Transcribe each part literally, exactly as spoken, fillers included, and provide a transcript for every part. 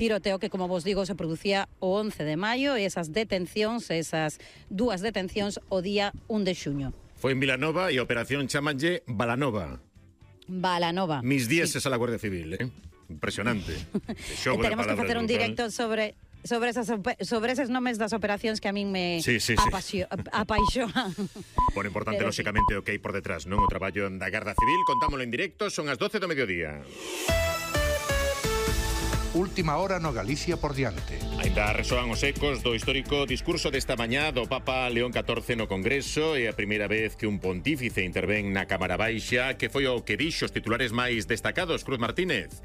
tiroteo que, como vos digo, se producía o once de maio e esas detencións, esas dúas detencións o día un de xuño. Foi en Vilanova e a operación chamanlle Balanova. Balanova. Mis dieces sí. A la Guardia Civil, eh? Impresionante. Tenemos que facer un directo sobre... sobre esas sobre esos nomes das operacións que a min me sí, sí, apasio, sí. apaixoan. Por importante, pero, lógicamente, o que hai por detrás, non? O traballo da Garda Civil, contámoslo en directo, son as doce do mediodía. Última hora no Galicia por diante. Ainda resoan os ecos do histórico discurso desta mañá do Papa León catorce no Congreso. É a primeira vez que un pontífice intervén na Cámara Baixa. Que foi o que dixo os titulares máis destacados, Cruz Martínez?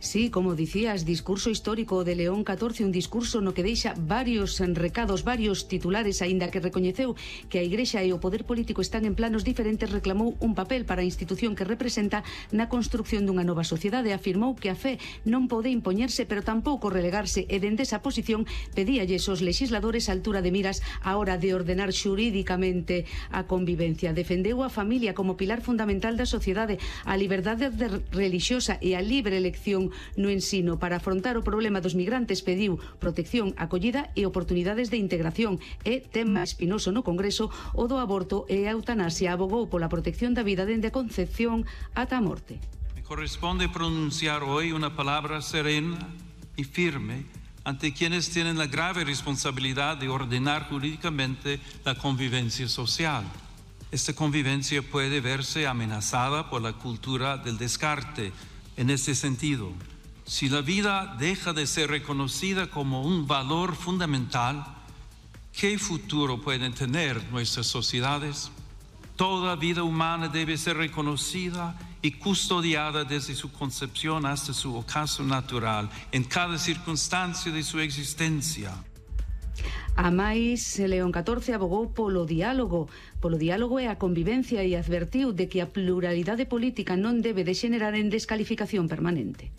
Sí, como dicías, discurso histórico de León catorce, un discurso no que deixa varios recados, varios titulares, aínda que recoñeceu que a Igrexa e o poder político están en planos diferentes, reclamou un papel para a institución que representa na construción dunha nova sociedade. Afirmou que a fe non pode impoñerse, pero tampouco relegarse, e dende esa posición pedíalles aos legisladores a altura de miras a hora de ordenar xurídicamente a convivencia. Defendeu a familia como pilar fundamental da sociedade, a liberdade relixiosa e a libre elección no ensino. Para afrontar o problema dos migrantes pediu protección, acollida e oportunidades de integración. E tema espinoso no Congreso o do aborto e a eutanasia. Abogou pola protección da vida dende a concepción ata a morte. Me corresponde pronunciar hoy una palabra serena y firme ante quienes tienen la grave responsabilidad de ordenar jurídicamente la convivencia social. Esta convivencia puede verse amenazada por la cultura del descarte. En este sentido, si la vida deja de ser reconocida como un valor fundamental, ¿qué futuro pueden tener nuestras sociedades? Toda vida humana debe ser reconocida y custodiada desde su concepción hasta su ocaso natural, en cada circunstancia de su existencia. A máis, León catorce abogou polo diálogo, polo diálogo e a convivencia e advertiu de que a pluralidade política non debe degenerar en descalificación permanente.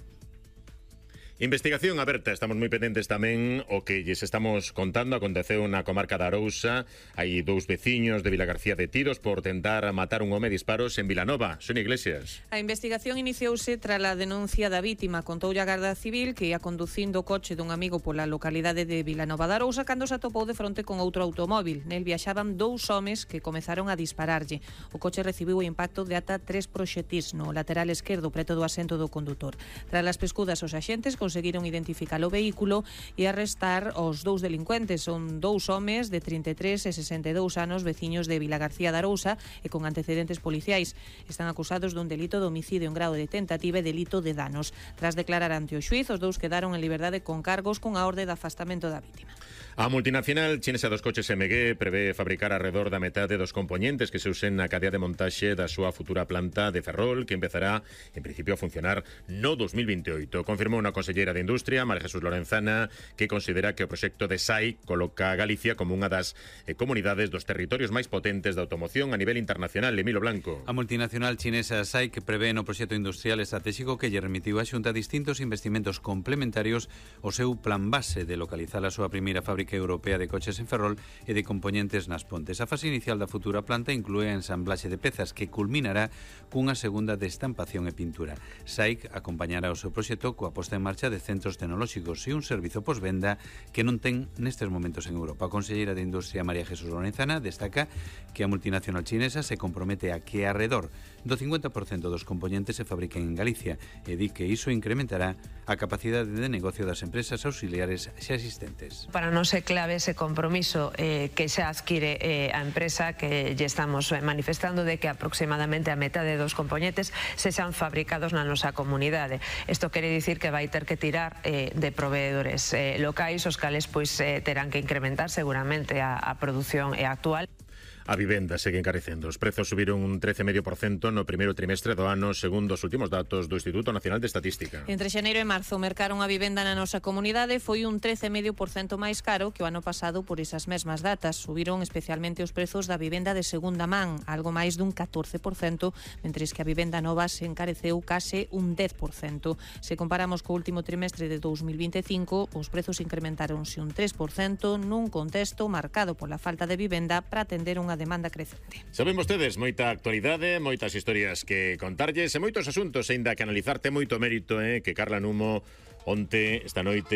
Investigación aberta, estamos moi pendentes tamén o que lles estamos contando. Aconteceu na comarca da Arousa. Hai dous veciños de Vilagarcía detidos por tentar matar un home a disparos en Vilanova. Sonia Iglesias. A investigación iniciouse tras a denuncia da vítima. Contoulle a Garda Civil que ia conducindo o coche dun amigo pola localidade de Vilanova da Arousa cando se atopou de fronte con outro automóvil. Nel viaxaban dous homes que comezaron a dispararlle. O coche recibiu o impacto de ata tres proxetís no lateral esquerdo preto do asento do condutor. Tras as pescudas, os axentes conseguiron identificar o vehículo e arrestar os dous delincuentes. Son dous homes de trinta e tres e sesenta e dous anos, veciños de Vilagarcía da Arousa e con antecedentes policiais. Están acusados dun delito de homicidio en grado de tentativa e delito de danos. Tras declarar ante o xuíz, os dous quedaron en liberdade con cargos con a orde de afastamento da vítima. A multinacional chinesa dos coches M G prevé fabricar alrededor da metade dos componentes que se usen na cadea de montaxe da súa futura planta de Ferrol, que empezará, en principio, a funcionar no dos mil veintioito. Confirmou unha conselleira de Industria, María Jesús Lorenzana, que considera que o proxecto de S A I coloca a Galicia como unha das eh, comunidades dos territorios máis potentes da automoción a nivel internacional. Emilio Blanco. A multinacional chinesa S A I, que prevé no proxecto industrial estratégico que lle remitiu a Xunta distintos investimentos complementarios ao seu plan base de localizar a súa primeira fábrica europea de coches en Ferrol e de componentes nas Pontes. A fase inicial da futura planta inclúe a ensamblaxe de pezas que culminará cunha segunda de estampación e pintura. S A I acompañará o seu proxecto coa posta en marcha de centros tecnolóxicos e un servizo posvenda que non ten nestes momentos en Europa. A conselleira de Industria, María Jesús Lorenzana, destaca que a multinacional chinesa se compromete a que arredor do cincuenta por cento dos componentes se fabriquen en Galicia e di que iso incrementará a capacidade de negocio das empresas auxiliares xa existentes. Para nós é clave ese compromiso eh, que xa adquire eh, a empresa, que lle estamos manifestando de que aproximadamente a metade dos componentes se xan fabricados na nosa comunidade. Isto quere dicir que vai ter que tirar eh, de proveedores eh, locais, os cales pois eh, terán que incrementar seguramente a, a produción eh, actual. A vivenda segue encarecendo. Os prezos subiron un trece coma cinco por cento no primeiro trimestre do ano, segundo os últimos datos do Instituto Nacional de Estatística. Entre xaneiro e marzo, mercaron a vivenda na nosa comunidade foi un trece coma cinco por cento máis caro que o ano pasado por esas mesmas datas. Subiron especialmente os prezos da vivenda de segunda man, algo máis dun catorce por cento, mentres que a vivenda nova se encareceu case un dez por cento. Se comparamos co último trimestre de dous mil vinte e cinco, os prezos incrementaronse un tres por cento nun contexto marcado pola falta de vivenda para atender unha demanda crecente. Saben vostedes, moita actualidade, moitas historias que contarlles e moitos asuntos, aínda que analizarte moito mérito, eh, que Carla Numo onte, esta noite,